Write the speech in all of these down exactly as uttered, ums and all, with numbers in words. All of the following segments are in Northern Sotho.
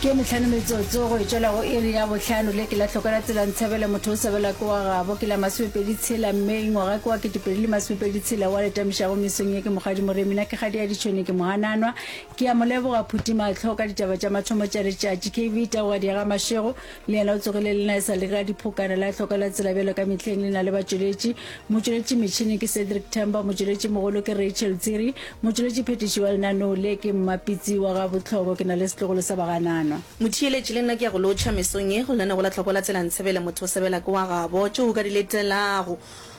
Ke mehlano metsotso go e tšwela go iri ya bohlano. Le ke la hloka la tsela ntshebele motho o sebela ke wa gabo. Ke la masomepedi tshela Mei ngwaga ke wa ketepedi le masomepedi tshela wa le tamišago mesong ye ke Mokgadi Moremi. Na ke kgadi ya ditšhone ke mohananwa. Ke a mo leboga Phuti Mahlo ka ditaba tša mathomo tša letšatši. K V Taogadi ya ga Mashego le yena o tsogile le na e sa le ka diphokana la hloka la tsela bjalo ka mehleng le na le batšweletši. Motšweletši metšhini ke Cedric Themba, motšweletši mogolo ke Rachel Tsiri, motšweletši phetiši wa lenaneo le ke Mmapitsi wa ga Botlhoko. Ke na le setlogolo sa bagananwa. Motheeletši le nna ke ya go lotšha mesong ye go lenaneo la Tlhoko la Tsela Ntshebele motho o sebela ke wa gabo. Tšeo o ka di letelago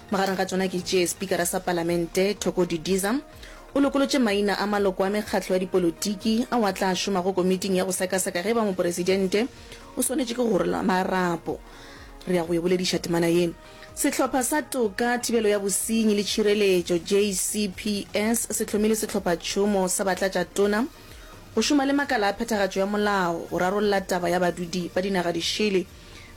magareng ga tšona ke tše, Spikara sa Palamente Thoko Didiza o lokolotše maina a maloko a mekgatlo ya dipolotiki ao a tla šomago komiting ya go sekaseka ge e ba mopresidente o swanetše ke go rola marapo. Re ya go e bolediša temana ye. Sehlopha sa Toka, Thibelo ya Bosenyi le Tšhireletšo, J C P S, se hlomile sehlophatšhomo sa batlatšatona go šoma le makala a phethagatšo ya molao go rarolla taba ya badudi ba dinaga dišele.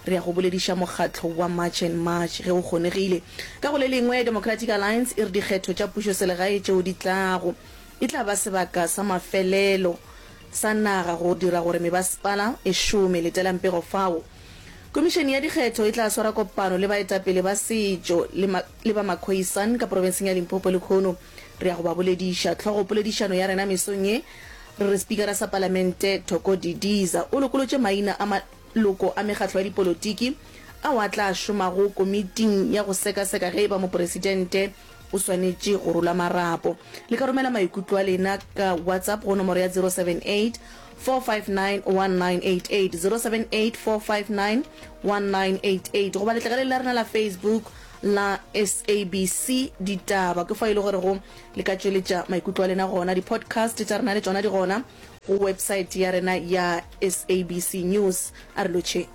Re ya go bolediša mokgatlo wa March and March ge go kgonegile. Ka go le lengwe, Democratic Alliance e re dikgetho tša pušoselegae tšeo di tlago e tla ba sebaka sa mafelelo sa naga go dira gore mebasepala e šome. Letelang pego fao. Komišene ya dikgetho e tla swara kopano le baetapele ba setšo le, ma, le ba Makhoisan ka profenseng ya Limpopo lehono. Re ya go ba bolediša. Hlogo poledišano ya rena mesong ye re re Spikara sa Palamente Thoko Didiza o lokolotše maina a maloko a mekgatlo ya dipolotiki ao a tla šomago komiting ya go sekaseka ge e ba mopresidente o swanetše go rola marapo. Le ka romela maikutlo a lena ka WhatsApp go nomoro ya zero seven eight, four five nine, one nine eight eight, zero seven eight, four five nine, one nine eight eight, goba letlakaleng la rena la Facebook la S A B C Ditaba, ke fa e le gore go le ka tšweletša maikutlo a lena gona. Di-podcast tša rena le tšona di gona go website ya rena ya S A B C News. A re lotšheng.